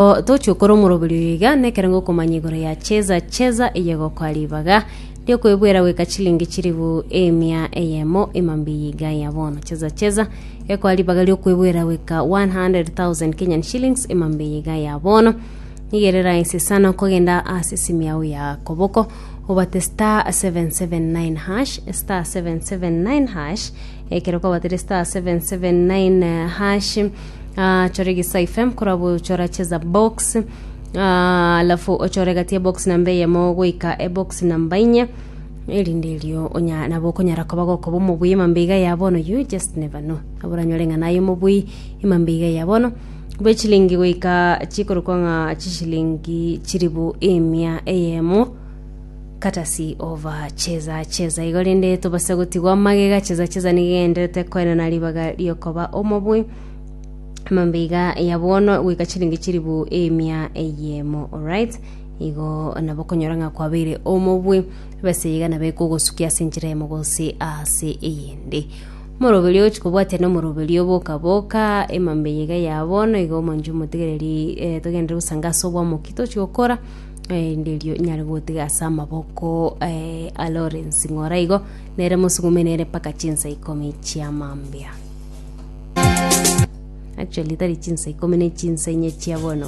Tochia gokora omoroberio oyo iga nekerengo okomanya igoro ya cheza cheza eye gokoa ribaga riokoebwera goika chilingi chilifu emia eyemo emambia eye iga ya bono. Cheza cheza ekoa ribaga riokoebwera goika 100,000 Kenyan shillings emambia eye iga ya bono. Nigo ere rahisi sana okogenda ase esimu yao ya koboko obate star 779 hash star 779 hash ekero kwabatire star 779 hash Ah, chora egesae fm korwa chora cheza box Ah, alafu ochore gati ya box namba eyemo goika ebox namba inye erinde erio onya nabo okonyara koba gokoba omobui emambia iga ya bono you just never know nabo oranyore ng'a naye omobui emambia iga ya bono bwe chilingi goika chikorokwa ng'a chishilingi chiribu emia eyemo courtesy of cheza cheza igo rende tobasa gotigwa magega cheza cheza nigo egenderete koenana ribaga riokoba omobui amambia iga ya bono goika chiringi chiribu emia eyemo alright igo nabo okonyora ng'a kwabeire omobui ebesa iga nabo ekogosukia ase enchera eyemo gose ase eyende omoroberi ogochi kobwatia na omoroberi oboka boka emambia iga ya bono igo omonche omotegereri eh, togenderere gosanga ase obwamoki tochi gokora Erinde erio nyare gotiga ase amaboko eh, a Lawrence ng'ora igo nere mosugume nere mpaka chinsa ikomi chia mambia. Actually tari chinsa ikomi ne chinsa inye chia bono.